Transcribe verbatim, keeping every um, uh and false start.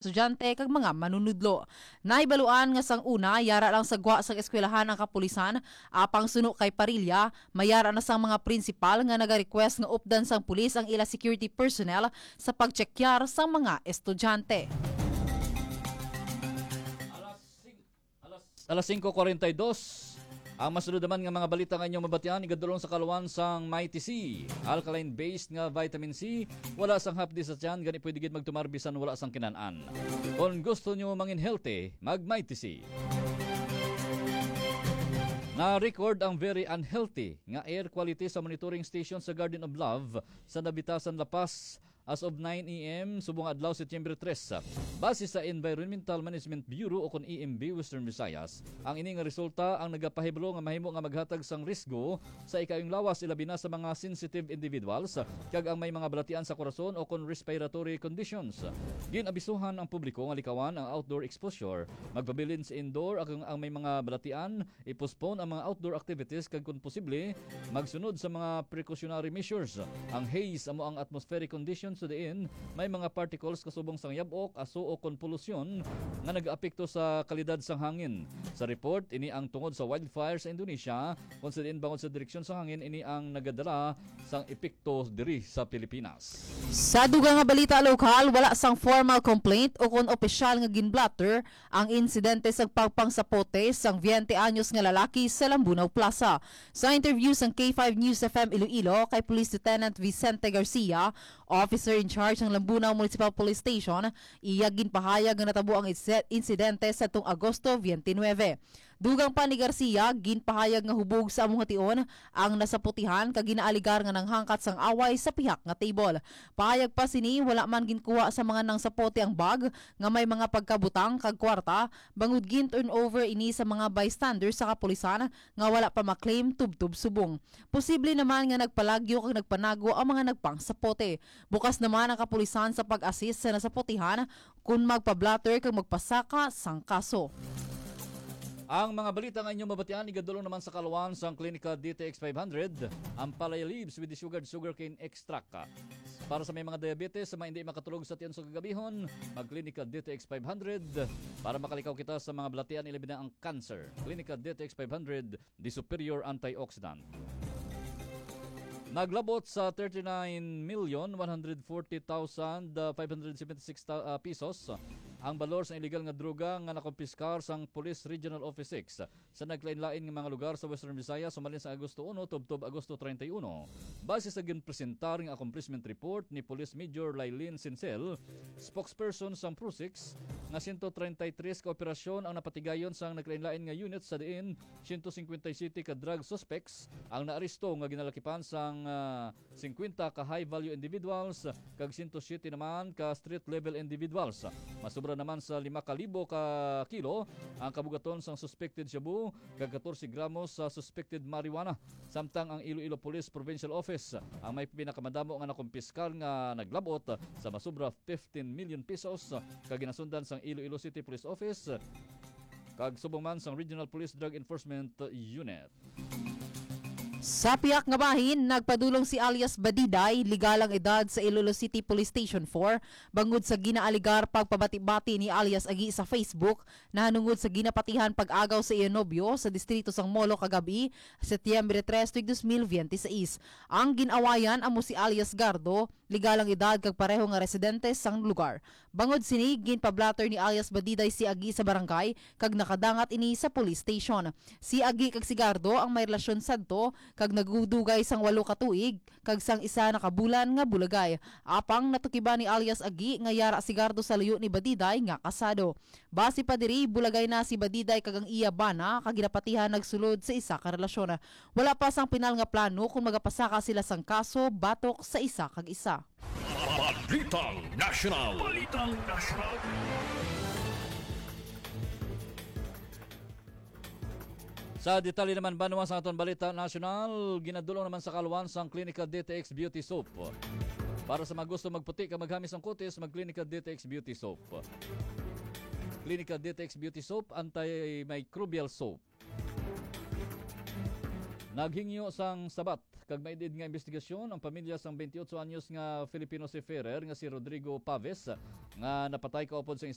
estudyante kag mga manunudlo. Nahibaluan nga sang una, yara lang sa gwa sang eskwelahan ang kapulisan, apang suno kay Parilla, mayara na sang mga prinsipal nga nagarequest nga updan sang pulis ang ila security personnel sa pagtsekyar sang mga estudyante. Alas sing-, alas, alas singko kuwarenta y dos. Ang masunod naman nga mga balita nga inyong mabatian, igadulong sa kaluan sang Mighty C. Alkaline-based nga vitamin C, wala sang hapdi sa tiyan, gani pwede gid magtumar bisan wala sang kinan-an. Kon gusto nyo mangin healthy, mag Mighty C. Na-record ang very unhealthy nga air quality sa monitoring station sa Garden of Love sa Nabitasan, La Paz, as of nine a m subong adlaw, Setyembre tres. Base sa Environmental Management Bureau o kon E M B Western Visayas, ang ini nga resulta ang nagapahibalo nga mahimo nga maghatag sang risgo sa ikaayong lawas, ilabi na sa mga sensitive individuals kag ang may mga balatian sa korason o kon respiratory conditions. Gin-abisuhan ang publiko nga likawan ang outdoor exposure, magpabilin sa indoor, kag ang may mga balatian, i-postpone ang mga outdoor activities, kag kon posible, magsunod sa mga precautionary measures. Ang haze amo ang atmospheric conditions sa diin may mga particles kasubong sang yab-ok, aso, o kon polusyon nga nagaapekto sa kalidad sang hangin. Sa report, ini ang tungod sa wildfire sa Indonesia, kon sa diin bangod sa direksyon sa hangin ini ang nagadala sang epekto diri sa Pilipinas. Sa dugang nga balita lokal, wala sang formal complaint o kon opisyal nga ginblotter ang insidente sa pagpangsapote sang veinte anyos nga lalaki sa Lambunao Plaza. Sa interview sang K five News F M Iloilo kay Police Lieutenant Vicente Garcia, officer in charge sang Lambunao Municipal Police Station, iya ginpahayag nga natabo ang inse-, insidente sa tong Agosto twenty-nine. Dugang pa ni Garcia, ginpahayag nga hubog sa amo nga tion ang nasaputihan kag ginaaligar nga nanghangkat sang away sa pihak nga table. Pahayag pa sini, wala man ginkuha sa mga nangsapote ang bag nga may mga pagkabutang kag kwarta, bangod gin-turn over ini sa mga bystanders sa kapulisan nga wala pa ma-claim tubtob subong. Posible naman nga nagpalagyo kag nagpanago ang mga nagpangsapote. Bukas naman ang kapulisan sa pag-assist sa nasapotihan kon magpa-blotter kag magpasaka sang kaso. Ang mga balita nga inyo mabatian, igadulong naman sa kaluan sang Clinica D T X five hundred, ang Palaya Leaves with the Sugared Sugarcane Extract. Para sa may mga diabetes, sa mga hindi makatulog sa tiyan sa kagabihon, mag-Clinica D T X five hundred para makalikaw kita sa mga balatian, ilabi na ang cancer. Clinica D T X five hundred, the superior antioxidant. Naglabot sa thirty-nine million one hundred forty thousand five hundred seventy-six ta-, ah, pesos ang balor sa illegal nga droga nga nakumpiskar sang Police Regional Office six sa naglain-lain nga mga lugar sa Western Visayas sumalin sa Agosto uno tubtob Agosto treinta y uno. Base sa ginpresentar nga accomplishment report ni Police Major Lailin Sincel, spokesperson sang PROSIX, nga sento treinta y tres ka operasyon ang napatigayon sang naglain-lain nga unit sa diin sento singkwenta y siyete ka drug suspects ang naaresto nga ginalakipan sang, ah, singkwenta ka high-value individuals kag sento siyete naman ka street-level individuals. Masobra naman sa lima ka libo ka kilo ang kabugaton sang suspected shabu kag katorse gramos sa suspected marijuana. Samtang ang Iloilo Police Provincial Office ang may pinakamadamo nga nakumpiskar nga naglabot sa masobra fifteen million pesos kag ginasundan sang Iloilo City Police Office kag subong man sang Regional Police Drug Enforcement Unit. Sa pihak nga bahin, nagpadulong si alias Badiday, legal ang edad, sa Iloilo City Police Station four bangod sa ginaaligar pagpabati-bati ni alias Agi sa Facebook nahanungod sa ginapatihan pag-agaw sa iya nobyo sa distrito sang Molo kagab-i, Setyembre tres, tuig dos mil biyente seis. Ang gin-awayan amo si alias Gardo, legal ang edad kag pareho nga residente sang lugar. Bangod sini, ginpa-blotter ni alias Badiday si Agi sa barangay kag nakadangat ini sa police station. Si Agi kag si Gardo ang may relasyon sadto kag nagdugay sang walo ka tuig kag sang isa na ka bulan nga bulagay. Apang natukiban ni alias Agi nga yara si Gardo sa luyo ni Badiday nga kasado. Base pa diri, bulagay na si Badiday kag ang iya bana kag ginapatihan nagsulod sa isa ka relasyon. Wala pa sang pinal nga plano kon magapasaka sila sang kaso batok sa isa kag isa. Balitang Nasyonal. Balitang Nasyonal. Sa detalye naman, banwa, sa aton balita nasyonal, ginadulong naman sa kaluan sang Clinica D T X Beauty Soap. Para sa mga gusto magputi kag maghamis ang kutis, mag Clinica D T X Beauty Soap. Clinica D T X Beauty Soap, antimicrobial soap. Naghingyo sang sabat Kag may did nga investigasyon ang pamilya sang twenty-eight anyos nga Filipino seafarer nga si Rodrigo Paves, nga napatay kaupod sang